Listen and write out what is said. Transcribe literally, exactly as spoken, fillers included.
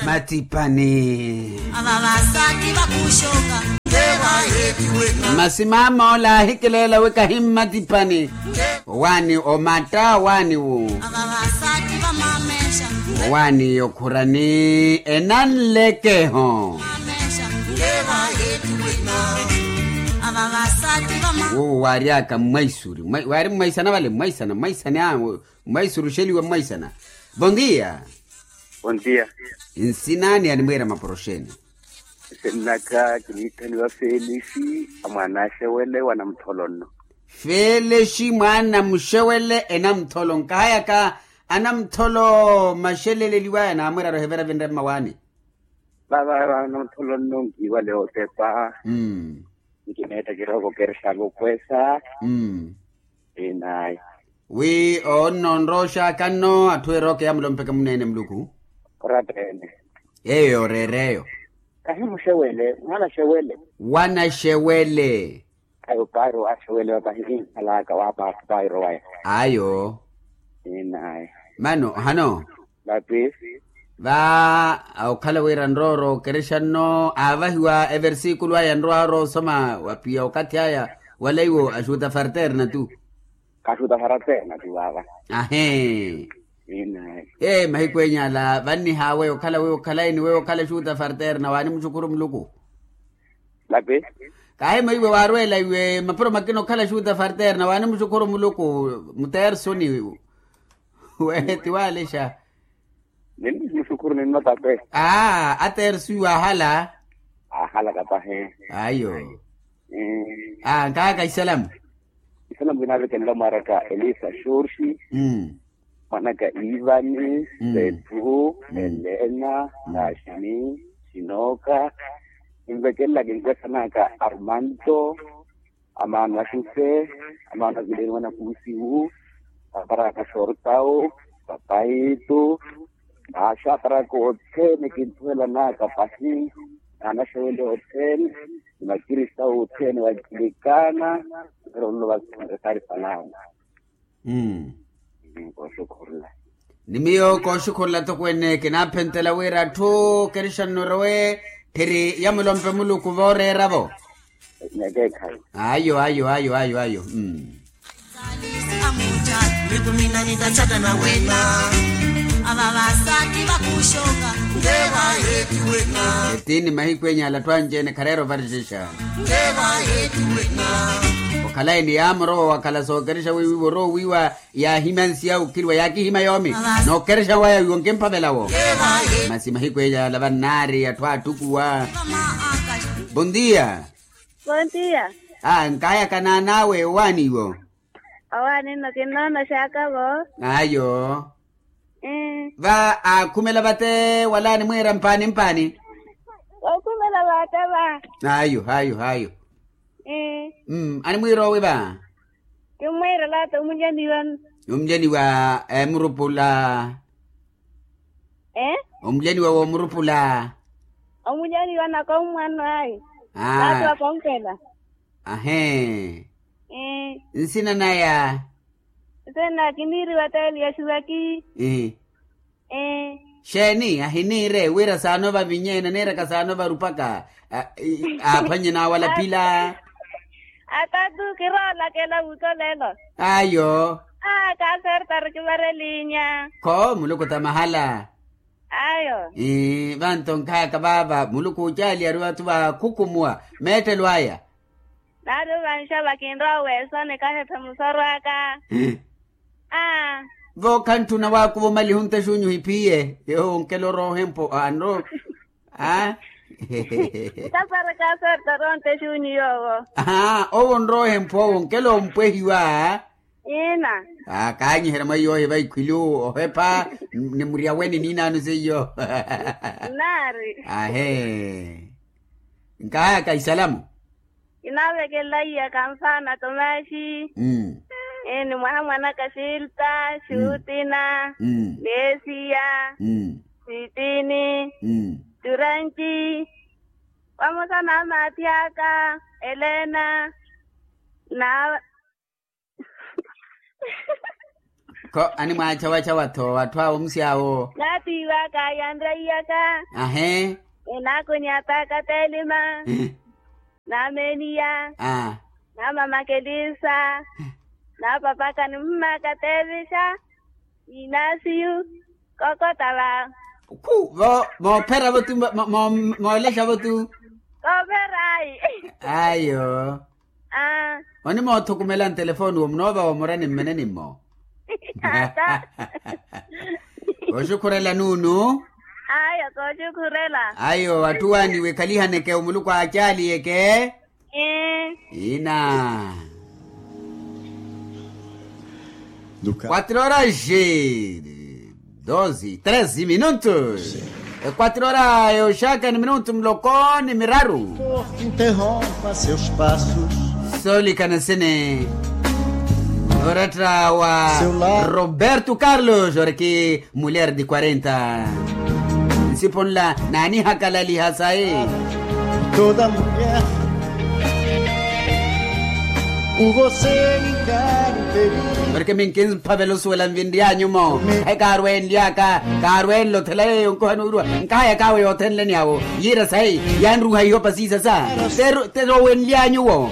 Matipani. Ava vasaati vakuxoka. Masi mama ola ahikileela wi kahi mmatipani. Owaani omatta owaani wu. Ava vasaati vamamexa. Owaani okhurani enanlekeho. Ava vasaati vama. Wu waaryaka mmwaisuri waari mmwaisana vale mmwaisana mmwaisana. Mwaisuruxeliwa mwaisana. Bon dia. Bon dia. Nsinaani animwiira maporoxeni? Nsina naka kiniithaniwa felixi, a mwaana axewele wa namutholonno. Felixi mwaana muxewele enamutholo nkahayaka anamutholo maxeleleliwaya naamwiira arohevera vinre mmawaani. Vava namutholonno nkiiwale otepa. Nkimeetta kirooko kerexaaka okhweesa. Inayi. Wi oonno onrooxaka nno atthu erooke yaamulompeke muneene muluku. Orapeene. Eyo reereyo. Kahi muxewele mwaana xewele. Wana xewele. Ayo pairo axewele wa pahi kinkhalaka wa pairo waya. Ayo. Inayi. Mano hano. Vapi. Va okhala wira nrooro okerexa nno aavahiwa eversikulu aya nrowa oroosoma wapiya okathi aya wala iwo axuta farterna tu. Axuta farterna tu vava. Ahee. Ee mahiku enyala vannihawe okhala wewe okhalayi ni wewe okhala axuta farterna waani muxukhuru muluku. Vapi. Kahi mwiiwe waarweela iwe mapuro makina okhala axuta farterna waani muxukhuru muluku. Mutersoni. Weeti waalexa. Ninni muxukhuru ninno tape. Aa atersu iwe ahala. Ahala kapahe. Ayo. Aa nkaaka isalamu. Isalamu kinaavekelela mwaaraka elisa xorxi. Mwanaka ivani, petru, helena, taxini, xinoka. Kinvekelela kinkwesanaka armanto. Amaana axuse, amaana avileni wanakuusiwu. Aparaka xortawu, papaitu. Axaparaka othene kinthuwelanaka pahi. Naanaxewele othene ni makristawu othene vankilikana. Pero nno vakikhunre saari palamu. Kooxukhurula. Ni miyo kooxukhurula toko ene kinaaphentela wira atthu kerixanno rowe. Phiri yamulompe muluku vooreera-vo. Ayo ayo ayo ayo ayo. Etiini mahiku enyala atthu anci-ene khareera ovarixexa. Okhalayi ni yaamorowa wakhala sookerexa wiiwiiwa oroowiiwa. Yaahimya nsi ya okhiriwa yaakihimya yoomi. Nookerexa waya wiiwa onkimphavela wo. Masi mahiku eyaala vannaari atthu aattukuwa. Bon dia. Bon dia. Aa nkaayaka naan'awe owaani iwo. Owaani nno kinnoonoxaka-vo. Ayo. Va aakhumela vate wala animwiira mpaani mpaani. Aakhumela vate va. Ayo ayo ayo. Animwiira owi va. Kimmwiirela ata omulyaniwa. Omulyaniwa emurupula. Omulyaniwa w'omurupula. Omulyaniwa naka ommwano ayi. Ata wakonkela. Ahee. Nsina naya. Nsina naya kiniiriwa teeli ya xiwaki. Xeeni ahiniire wira saano vavinyeene aniiraka saano varupaka. Aaphwanye naawalapila. Atatu kiroolakela wuuto lelo. Ayo. Aa kaasertari kivarelinya. Kho muluku ta mahala. Ayo. Vanto nkhayaka vaava muluku ocaali ari vathu vaakhukumuwa meettelo aya. Naari ovansha vakinrowa weesoni kahephe musorwaka. Aa. Vookhanttuna waakuva omaliha ontexuunyu ohiphiye. Yowo onkela oroohempo anro. Aa. Ntaparaka asortari ontexuunyu yoowo. Aa owo onroohempo owo onkela ompwehiwa. Ina. Aa kaanyiherya mwa iyoohi vaikhwilu ohepha. Ni muryaweni niinaano seiyo. Naari. Ahee. Nkaayaka isalamu. Kinaavekelela iyaka nfaana tomaxi. Ni mwaha mwanaka xilta xutina, ni esiya, sitini, turanci, vamosa na amaathi aka elena. Na. Kho animwaachawachawa-tho atthu awo musi awo. Naatiiwaka yanreiyaka. Ahe. Enaakoni ataka telima. Nameeniya. Namamakelisa. Napapaka nimmaka teevisha. Inasiyu. Kokota va. Khu vo moophera vo tu moolexa vo tu. Koopherayi. Ayo. Onimoothukumela ntelefoni wo munoovawa omurani mmene nimmo. Kooxukhurela nuunu. Ayo kooxukhurela. Ayo atthu waani wikhalihaneke omuluku aacaaliyeke. Ina. Quatro horas e doze treze minutos. Quatro horas e oxaka ni minutu muloko ni miraru. Solikana sene. Oratta wa roberto carlos oriki mulher de quarenta. Nsipo nla naanihakalaliha sayi. Toda mulher kuvosenika. Porke minkinphavela osuwela nvinry'anyu-mo. Khayi kaarwenly'aka kaarwenle othela yeeyo nkuha nuuruwa. Nkahayaka awe yoothenleni awo yiira sayi. Yanruha ihopa siisasa. Terowenly'anyu-wo.